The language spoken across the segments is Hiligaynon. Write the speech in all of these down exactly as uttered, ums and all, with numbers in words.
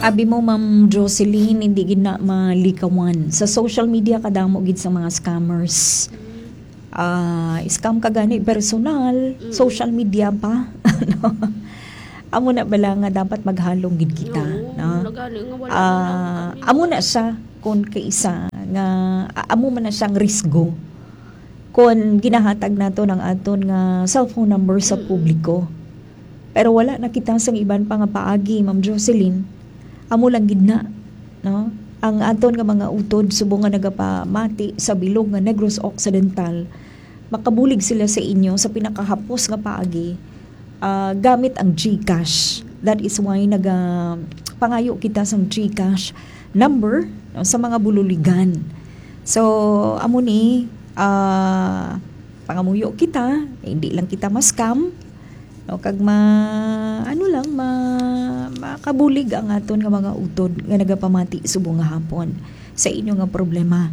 Abi mo, Ma'am Jocelyn, hindi gid na malikawan. Sa social media, kadamo gid sa mga scammers. Ah, scam ka gani personal, social media pa. Ano? Amo na bala nga dapat maghalong gid kita, no? Nagani nga wala Ah, na lang kami. Amo na siya kung kaisa nga a- amo man na siyang risgo kung ginahatag nato ng aton nga cellphone number sa publiko. Pero wala na kita sang iban pa nga paagi, Ma'am Jocelyn. Amo lang gid na, no? Ang aton nga mga utod subong nga nagapamati sa bilog nga Negros Occidental, makabulig sila sa inyo sa pinakahapos nga paagi, ah, gamit ang GCash. That is why naga pangayo kita sang GCash number, no, sa mga bululigan. So, amo ni, ah, pangamuyo kita, hindi lang kita ma-scam, no, kag ma ano lang ma makabulig ang aton nga mga utod nga nagapamati subong nga hapon sa inyo nga problema.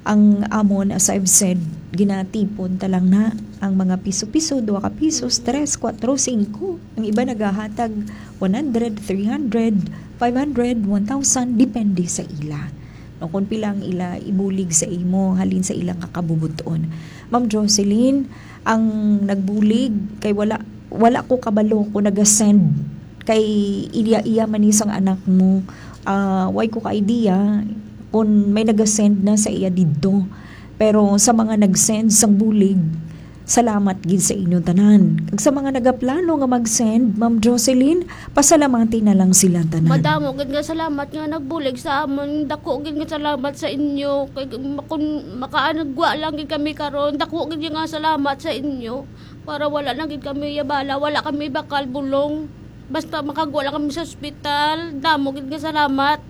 Ang amon, as I've said, ginatipon ta lang na ang mga piso-piso, dua ka pisos, tres, kwatro, singko. Ang iba nagahatag one hundred, three hundred, five hundred, one thousand, depende sa ila. No, kung pila ang ila ibulig sa imo halin sa ilang kakabubuton. Ma'am Jocelyn, ang nagbulig kay wala wala ko kabalo kung naga-send kay iya-iya man ni sang anak mo. Ah, way ko ka idea kung may naga-send na sa iya didto. Pero sa mga nag-send sang bulig, salamat gid sa inyo tanan. Kag sa mga nagaplano nga mag-send, Ma'am Jocelyn, pasalamati na lang sila tanan. Madamo gid nga salamat nga nagbulig sa amon. Dako gid nga salamat sa inyo. Kay kun makaanagwa lang gid kami karon, dako gid nga salamat sa inyo. Para wala na gid kami yabala, wala kami bakal bulong. Basta makagwa lang kami sa ospital, damo gid nga salamat.